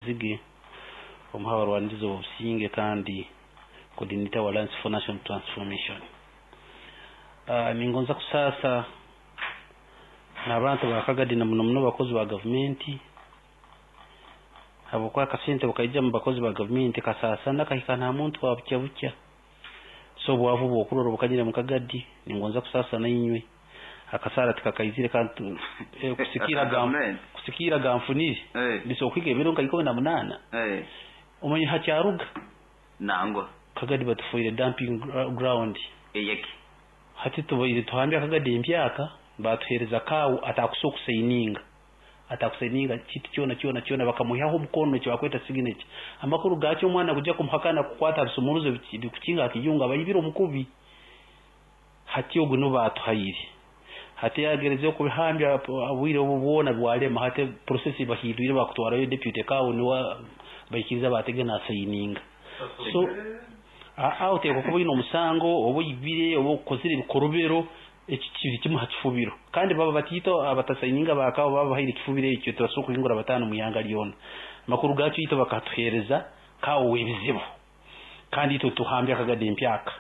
Zige omu h'abarwanirizi b'obusinge kandi coordinator wa Alliance for National Transformation. Ningonza kusaasa n'abantu ba Kagadi, na muno muno abakozi ba gavumenti, habwokuba akasente bukaija mu bakozi ba gavumenti kasaasana kahika nta muntu wa bukya bukya. So obwavu bwokurora obukanyire mu Kagadi, ningonza kusaasa nainywe. Akasaara tikakaizire kandi kusikiira ganfunire bisobola kuhika ebiro nka 18. Omanye hakyaruga. Nangwa. Kagadi batufoire dumping ground. Eyeki? Hati tubaire tuhambya Kagadi empyaka, batuheereza kaawu atakusobola kusayininga, atakusayininga kintu kyona kyona kyona, bakamuihaho omukono, eki bakweta signature. Amakuru gakyo, omwana kujya kumuhakana kukwata bisumuruzo bikukinga akiyunga abaibire omukubi. Hati ogu nibo batuhaire. Hati yagerezeho kubihambya obwire obu bwona, bwalema. Hati process bahindwire, bakutwarayo deputy kaawu, niwe baikiriza batege nasayininga. So aho oteekwa kuba oine omusango, oba oibire, oba okozire ebikorobero, eki kiri kimu ha kifubiro. Kandi baba batiito abatasayininga bakaawo, baba bahaire ekifubiro ekyo, tibasobola kuhingura 5 mu ihanga lyona. Amakuru gakyo, itwe bakatuheereza kaawo w'ebizibu, kandi itwe tuhambya Akagadi empyaka.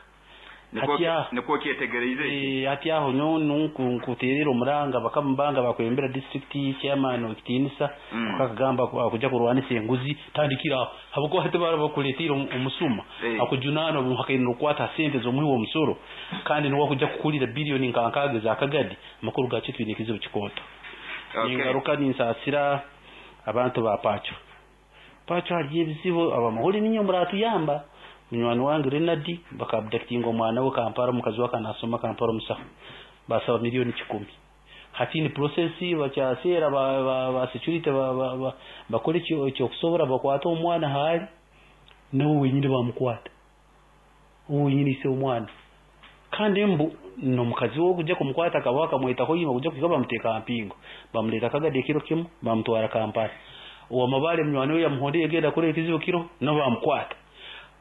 Nikwo kyetegereize eki. Hati aho nyowe nkuterera omuranga bakama banga bakwembera district chairman w'ekitiinisa, akagamba kujya kurwanisa enguzi, tandikira aho, habwokuba hati bara bakuleetiire omusuma akujunaana omuhakaine n'okukwata ha sente z'omuhi w'omusoro, kandi niwe akujya kukulira biliyoni nka 60 za Kagadi. Amakuru gakyo, twine ekizibu kikooto. Ningaruka ninsaasira abantu ba Pacho. Pacho hariyo ebizibu, abamahuri ninyo muratuyamba. Munywani wange Renadi bakaabductinga omwana we Kampala, omukazi we akanasoma Kampala, omusaho, basaba miliyoni 100. Hati ni process bakyaseera ba security bakole ekyokusobora bakwate omwana. Haali nawe wenyini bamukwata, owe wenyini ise omwana, kandi mbu n'omukazi we okujya kumukwata akaba akamwetaho ima kujya kuhika bamuteeka ha mpingo, bamuleeta Kagadi ekiro kimu, bamutwara Kampala. Owamabale munywani we yamuhondera, genda kureba ekizibu kiro, nabo bamukwata.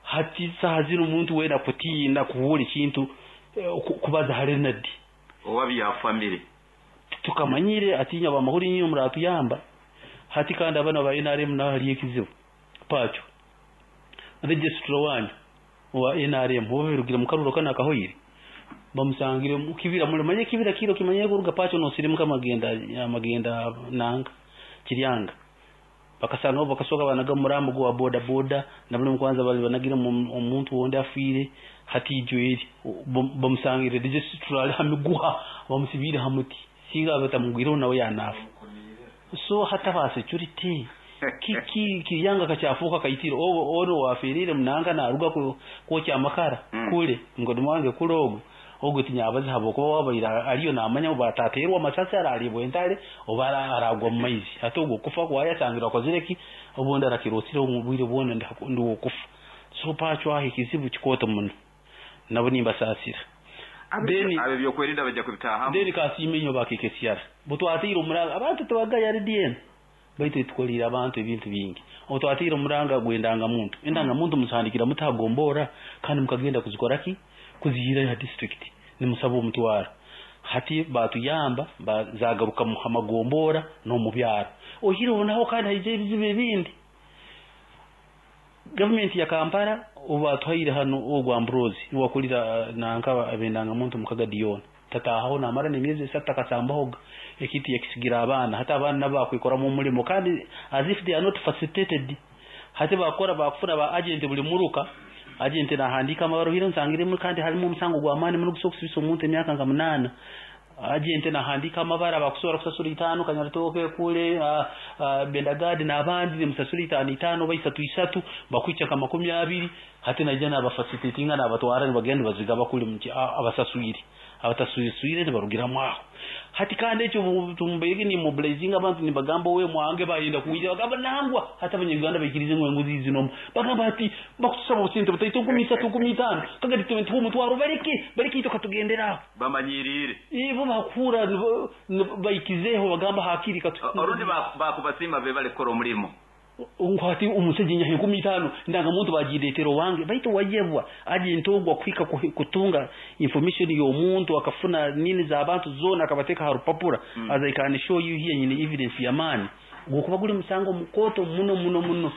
Hati saha zino omuntu wena kutiina kuhuura ekintu kubaza ha Renadi. Owa bya family. Tukamanyire atinya. Abamahuri inyo muratuyamba. Hati kandi abana ba NRM naho hariyo ekizibu. Pacho, registrar wanyu wa NRM oba birugire mu karuro kana akahoire, bamusangire mu kibira. Mulimanye ekibira kiro kimanyire kuruga Pacho nosirimuka amagenda amagenda nanga Kiryanga, bakasanga bakasoka banaga murambo gwa boda boda na buli kwanza bali banagire omuntu wundi afiire. Hati ijo eri bamusangire registrar ali ha miguha, bamusibire ha muti, singa batamugwireho nawe yanafa. So hata ba security kiki? Kiryanga kakyafuuka kaitiro. Ono wafirire munanga naruga kwokya amakara. Kule ngodo mwange kule ogu ogwo tinyabazi, habwokuba wabaire ariyo namanya oba ataterwa amasasi, araribwa entale, oba aragwa mu maizi. Hati ogwo okufa kwayasangirwe akozire ki? Obundi arakirosire omu bwire bwona ndi wokufa. So Pacho aho ekizibu kikooto muno, nabo nimbasaasira. Abo ebyokwerinda bajja kubitahamu. Then kasiime inyo bakekesyara butwatiire omuranga. Abantu tibagaya RDM, baitu etukoliire abantu ebintu bingi. Otwatiire omuranga gw'endangamuntu. Endangamuntu muzihandikira mutagombora, kandi mukagenda kuzikora ki, kuzihirayo ha district nimusaba omutwaro. Hati batuyamba, zagaruka mu hamagombora n'omu byaro. Ohireho naho kandi haija ebizibu ebindi. Gavumenti ya Kampala obu batuhaire hano ogwo Ambrose niwakulira nanka abendangamuntu mu Kagadi yoona, tatahaho namara n'emyezi 3 takasambahoga. Ekintu yakisigira abaana. Hati abaana nabo bakwikoramu omulimo, kandi as if they are not facilitated. Hati bakora bakufuna ba agent buli muruka, agent nahandiika amabaruha. Nsangiremu kandi harimu omusango gw'amaani muno gusobola kusibisa omuntu emyaka nka 8. Agent nahandiika amabara, bakusobora kusasura 5 Kanyaritoke kule, Bendagadi n'abandi, nimusasura 5 5 oba 3 3, bakwikya nka 20. Hati naija nabafacilitatinga, nabatwara, nibagenda nibazigaba kuli abasaswire, abatasaswire nibarugiramu aho. Hati kandi ekyo tumbaire nimobilizinga abantu, nibagamba owe mwange bayenda kwija, bagamba nangwa. Hati Abanyarwanda baikirize ngu enguzi zinomu, bagamba hati bakutusaba obusente butaito, 3000, 5000, Kagadi tuha omutwaro, baleke baleke, itwe katugendera aho. Bamanyirire. Ibo bakuhura baikizeho, bagamba hakiri katu. Orundi bakubasiima be bali kukora omulimo. Hati omusajja nyaha 5000, ndangamuntu bagiretera owange, baitu wayebwa agent ogwo kuhika kutunga information y'omuntu, akafuna nini z'abantu zona, akabateeka ha rupapura. As I can show you here, nyine evidence y'amaani, gwokuba guli musango mukooto muno muno muno.